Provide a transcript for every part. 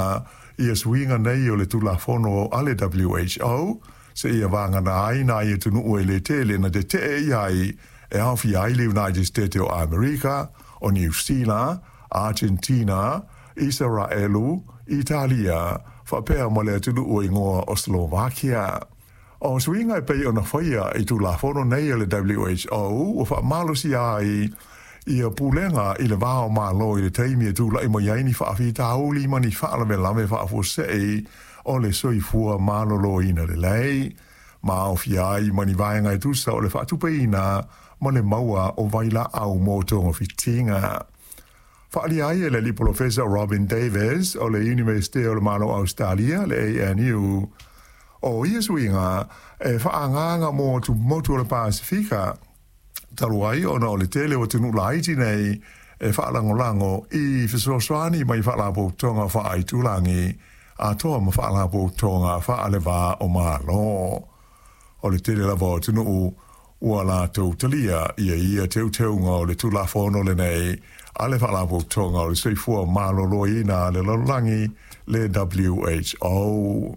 fa'atinoina ia suiga nei o le Tulafono a le WHO, seia vagana ai nai atunuu e lē tele na tete'e i ai, e aofia ai le United States o Amerika, o Niu Sila, Argentina, Isaraelu, Italia, faapea ma le atunuu e igoa o Slovakia. O suiga e pei ona faia i Tulafono nei a le WHO ua faamalosia ai ia pulega i le va o Malo i le taimi e tula'i mai ai ni faafitauli ma ni faalavelave faafuasei o le soifua maloloina lelei, ma aofia ai ma ni vaega e tusa o le faatupeina ma le maua o vailaau mo togafitiga. Faaalia ai e le alii polofesa Robin Davis o le Iunivesite o le Malo o Ausetalia, le ANU, o ia suiga e faaagaaga mo atumotu o le Pasefika, talu ai ona o le tele o atunuu laiti nei e faalagolago i fesoasoani mai faalapotopotoga faaaitulagi atoa ma faalapotopotoga faalevā o Malo. O le tele lava o atunuu ua latou talia ia ia teuteuga o le Tulafono lenei a le Faalapotopotoga o le Soifua Maloloina a le Lalolagi, le WHO.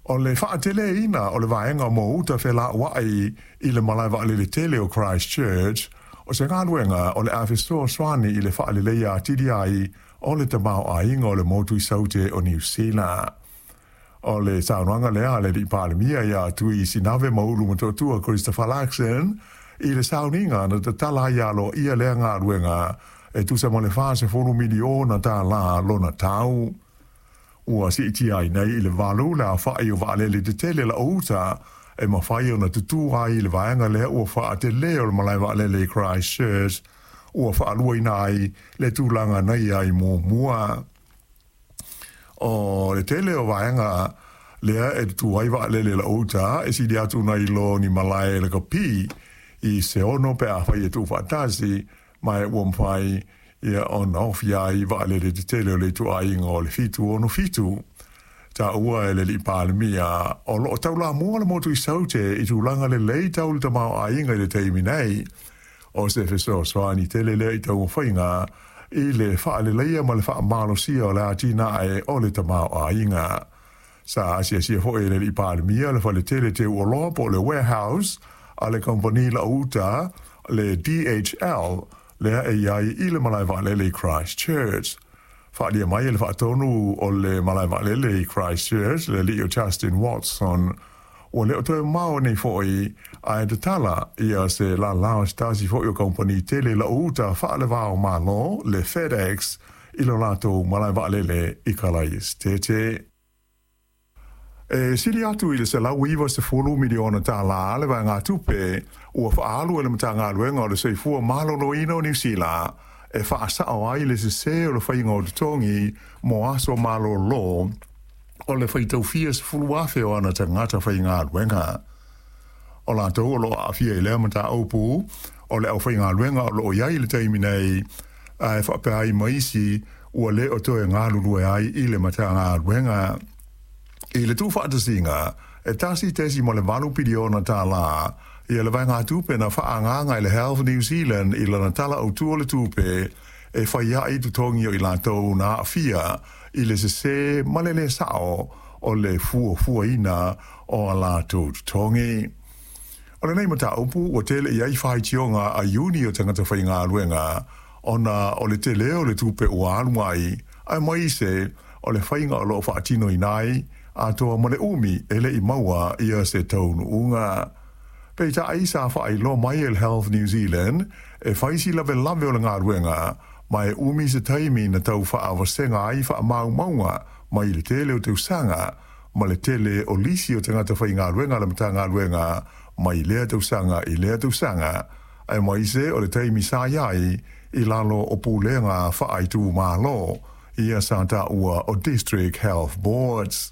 O le fa'ateleina o le vaega mo uta fela'ua'i i le malae vaalele tele o Christchurch, o se galuega o le a fesoasoani i le fa'aleleia atili ai o le tamaoaiga o le motu i Saute o Niu Sila. O le saunoaga lea a le Alii Palemia ia Tui Sinave Maulu Motootua Christopher Luxon i le sauniga na tatala ai aloaia lea galuega e tusa ma le $40 miliona tālā lona tau. Ua siitia ai nei i le 8 le aofa'i o vaalele tetele la'o uta e mafai ona tutū ai i le vaega lea ua fa'atelē o le malae vaalele i Christchurch, ua fa'aluaina ai le tulaga na i ai muamua. O le tele o vaega lea e tutū ai vaalele la'o uta e sili atu nai lo ni malae lakapi i se 6 pe afai e tuufaatasi, ma e ua mafai ia ona ofi ai vaalele tetele o le ituaiga o le 767. Taua e le Alii Palemia, o loo taulamua le motu i Saute i tulaga lelei tau le tamaoaiga i le taimi nei. O se fesoasoani tele lea i taumafaiga i le faaleleia ma le faamalosia o le atinae o le tamaoaiga. Sa asiasia foi e le Alii Palemia le faletele teu oloa po o le warehouse a le kamupani lau uta le DHL lea e i ai i le malae vaalele i Christchurch. Faaalia mai e le faatonu o le malae vaalele i Christchurch, le alii o Justin Watson, ua le o toe mamao nei foi ae tatala ia se lala o se tasi foi o kamupani tele lau uta faalevā o Malo, le FedEx, i lo latou malae vaalele i Kalaesetete. E sili atu i le $190 miliona tālā le vaegatupe ua faaalu e le Matagaluega o le Soifua Maloloina o Niu Sila e faasao ai le sesē o le faiga o totogi mo aso malolo o le faitaufia 10,000 o ana tagata faigaluega. O latou o loo aafia i lea mataupu o le aufaigaluega o loo i ai i le taimi nei, ae faapea ai ma isi ua le o toe galulue ai i le Matagaluega. I le tuufaatasiga, e $1.8 piliona tālā ia le vaegatupe na faaagaaga e le Health New Zealand i lana Tala Autū o le Tupe e fai ai totogi o i latou na aafia i le sesē ma le lē sa'o o le fuafuaina o a latou totogi. O lenei mataupu ua tele i ai faitioga a iuni o tagata faigaluega ona o le telē o le tupe ua alu ai, aemaise o le faiga o loo faatinoina ai, atoa ma le umi e le i maua ia se taunuuga. Peitai sa faailoa mai e le Health New Zealand e fai si lavelave o le galuega, ma e umi se taimi na tau faavasega ai faamaumauga mai le tele o tausaga ma le tele o lisi o tagata faigaluega a le Matagaluega mai lea tausaga i lea tausaga, aemaise o le taimi sa i ai i lalo o pulega faaitumalo, ia sa taua o District Health Boards.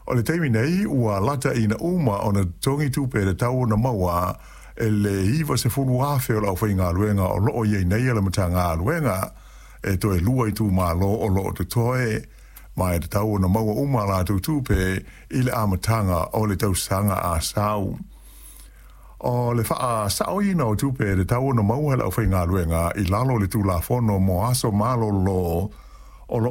O le taimi nei ua lata ina uma ona totogi tupe e tatau ona maua e le 90,000 o le aufaigaluega o loo i ai nei a le Matagaluega, e toe lua itumalo o loo totoe, ma e tatau ona maua uma a latou tupe i le amataga o le tausaga a sau. O le faasaoina o tupe e tatau ona maua e le aufaigaluega i lalo o le Tulafono mo Aso Malolo.